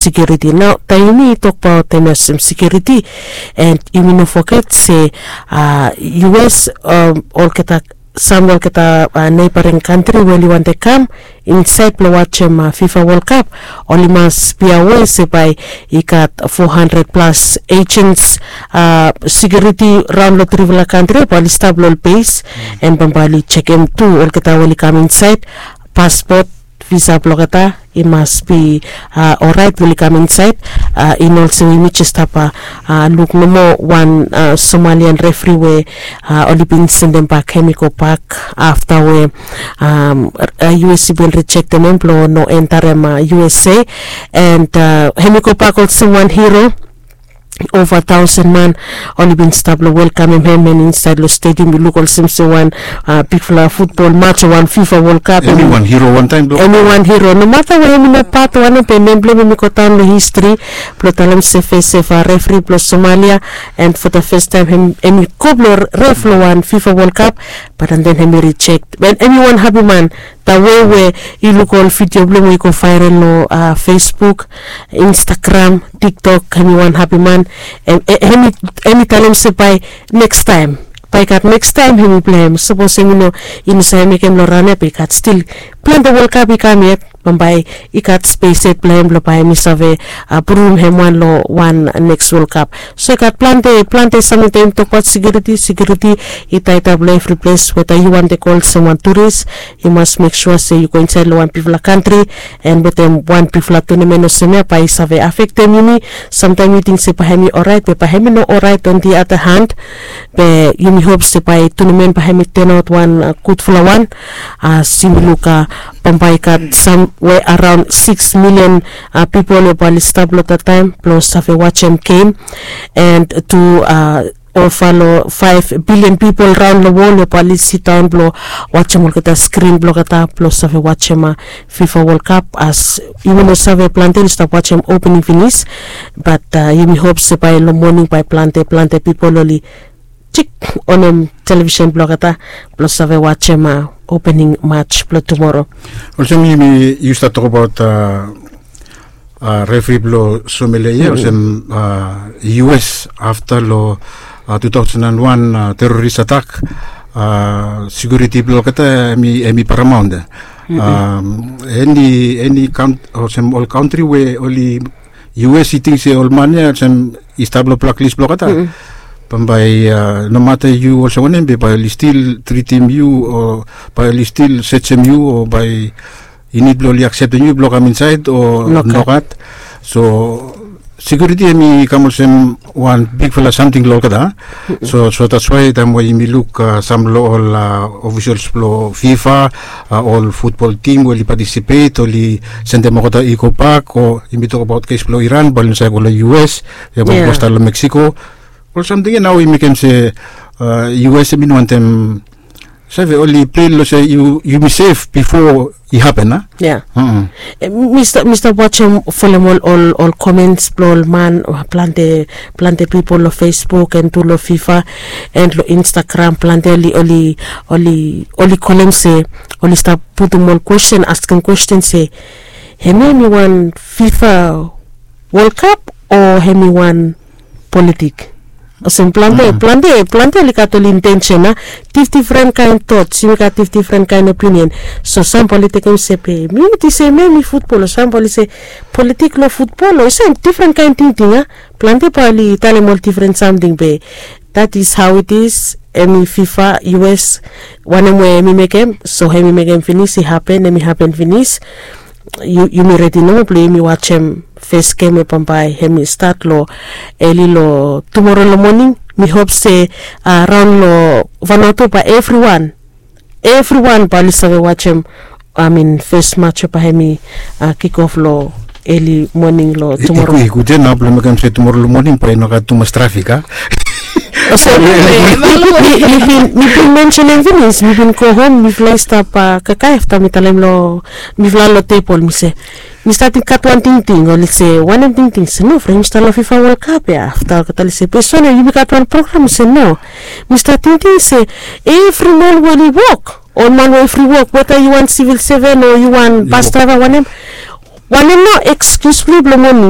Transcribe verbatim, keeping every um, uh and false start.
Security nao taem yumi tokbaot em olsem security, and yumi no foget se us olgeta, sam olgeta neibaring kantri we oli wantem kam insaed blong wajem fifa wol kap, oli mas bia we se bae i gat fo handred plas ejens, security raon long trifala kantri bae oli stap long ol bes, and bambae oli jekem tu olgeta we oli kam insaed, paspot, visa blong olgeta i mas bi oraet we oli kam insaed. I no olsem we yumi jes stap luk nomo wan somalian refri we oli bin sendem bak hem i go bak afta we us i bin rijektem hem blong no entarem usa, and hem i go bak olsem wan hiro. Ova taosen man oli bin stap long welkamem hem, and insaed long stediam i luk olsem se wan bigfala futbol mats o wan fifa wol kap. Em i wan hiro wantaem blong em i wan hiro nomata we hem i no pat wanem be nem blong hem i go daon long histri blong talem se fes sefa refri blong somalia, and fo da fes taem hem i go blong ref long wan fifa wol kap. Bat and then hem i rijekt, and hem i wan hapi man. Da wei we i luk ol vidio blong hem we i go vaerel long fesbuk, instagram, tiktok, hem i wan hapi man. Hem i talem se bae nekstaem, bae i gat nekstaem hem i pleim sapos hem i no i no save mekem long ran ya be i gat stil plante wolkap i kam yet. Bambae i gat spes yet blong hem blong bae hem i save prurum hem wan long wan neks wolkap. So i gat plante plante samting taem i tokbaot sekiuriti sekiuriti i taetap long evri ples weta yu wantem go olsem wan turis, yu mas mek sua se yu go insaed long wan bigfala kantri, and wetem wan bigfala tunamen olsem ya bae i save afektem yumi. Samtaem yu ting se bae hem i oraet be bae hem i no oraet on di ada han. Be yumi hop se bae tunamen bae hem i tenaot wan gudfala wan. As yumi luk bambae i gat samwe araon siks milian pipol we bae oli stap long dat taem blong save wajem gem, and tu ova long faef bilian pipol raon long wol we bae oli sidaon blong wajem olgeta skrin blong olgeta blong save wajem fifa wolkap. As yumi no save plante oli stap wajem opening finis, bat yumi hop se bae long moning bae plante plante pipol oli jik onem televisen blong olgeta blong save wajem opening mats blong tumoro. Olsem yumi yu stap tokbaot refri blong somalia ya olsem us afta long tu taosen and wan teroris atak, sekiuriti blong olgeta hem i paramaon ya. Eni eni olsem ol kantri we oli us i ting se ol man ya olsem i stap long blaklis blong olgeta, bambae nomata yu olsem wanem be bae oli stil tritim yu o bae oli stil sejem yu o bae i nid blong oli akseptem yu blong kam insaed o nogat. So sekiuriti hem i kam olsem wan bigfala samting long olgeta. So so datswae taem we yumi luk sam long ol ofisels blong fifa, ol futbol tim we oli patisipet oli sendem olgeta i go bak o yumi tokbaot kes blong iran bae oli no save go long us, ya bae oli go stap long meksiko. Ol samting ya nao i mekem se us hem i no wantem save oli plei long se yumi sef bifo i hapen a. Ya. Mi stap wajem folem ol ol komens blong ol man, plante plante pipol long fesbuk and tu long fifa and long instagram plante oli oli oli oli kolem se oli stap putum ol kwesten askem kwesten se, hemia hemi wan fifa wolkap o hemi wan politik? Olsem plante plante plante oli gat ol intensen a, difdifren kaen tots yumi gat difdifren kaen opinion. So sam bae oli tekem se be mi witi se mi mi futbol o sam bae oli se politik long futbol o i sam difren kaen tingting a. Plante bae oli talem ol difren samting be dat is hao it is. Hemi fifa us wanem we hemi mekem so hemi mekem finis i hapen hemi hapen finis. Yumi redi nomo blong yumi wajem fes gem we bambae hemi stat long eli long tumoro long moning. Mi hop se raon long vanatu bae evriwan evriwan bae oli save wajem amin fes mats we bae hemi kikof long eli moning long tumoro. I gud ya nao blong mekem se tumoro long moning bae i no gat tumas trafik a. Mi bin mensenem finis mi bin go hom mifala i stap kakae afta mi talem long mifala long tebol mi se, mi statim gat wan tingting oli se wanem tingting se no fre yumi stap long fifa wol kap ya afta olgeta oli se be sone yumi gat wan program mi se no. Mi stap tingting se evri man we oli wok ol man we evri wok weta yu wan sivil seven o yu wan bas draiva wanem, Wanem nao excuse blong yu blong moning?